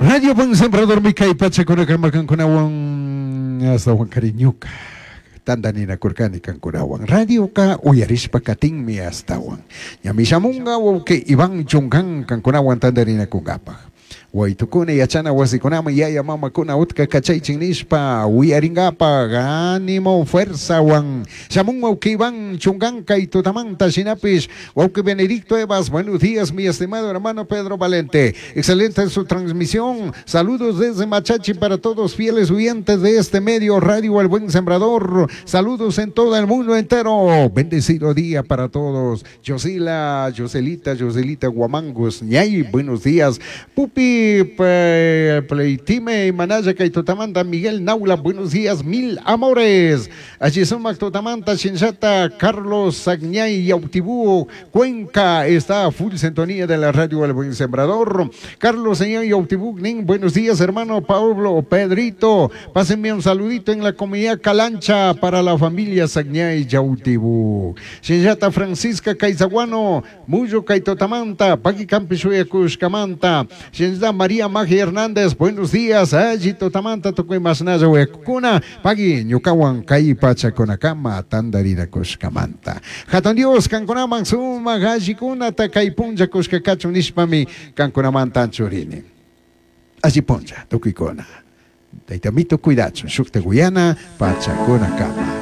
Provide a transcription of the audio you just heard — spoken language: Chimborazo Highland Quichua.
Radio Buen Sembradormi kay pachakunakama kankunawan astawan cariñuka tantaninakurkani kankunawan. Radioka uyarishpa katinmi astawan. Ñami shamunga wawqi Iván Chungan kankunawan tantarinakunkapaj. Waytukuna yachana wasikunaman yaya mamakuna utka kachaychin nishpa uyaringapaj ánimo fuerzawan shamun wawqi Iván Chungan kay tutamanta. Shinapish wawqi Benedicto Evas, buenos días, mi estimado hermano Pedro Valente, excelente su transmisión, saludos desde Machachi para todos fieles oyentes de este medio Radio El Buen Sembrador, saludos en todo el mundo entero, bendecido día para todos. Yosila, Yoselita, Yoselita Guamangos, Ñay, buenos días. Pupi, Pleitime, Manaya, kay tutamanta, Miguel Naula, buenos días, mil amores. Allí sumak tutamanta, Shinshata, Carlos Sagñay, Yautibú, Cuenca, está full sintonía de la radio El Buen Sembrador. Carlos Señor Yautibú, Nin, buenos días, hermano Pablo, Pedrito. Pásenme un saludito en la comunidad Calancha para la familia Sagñay Yautibú. Shinshata Francisca Caizaguano, Muyo Kaitotamanta, Paqui Campishuya Cushcamanta, Shinshata María Magia Hernández, buenos días, Allí Totamanta, Tukuy Masnaya Huecuna, Paqui Ñucawan Kai Pachaconacama, Tandarina Cushcamanta. Hatun Dios, Cancunaman Suma, Gallicuna, Takay Punja Cushcacachu Nishpami, Cancunamantan Churini. Allí puncha, tukuycuna. Taytamito cuidachu, shukta Guyana, Pachacuna kama.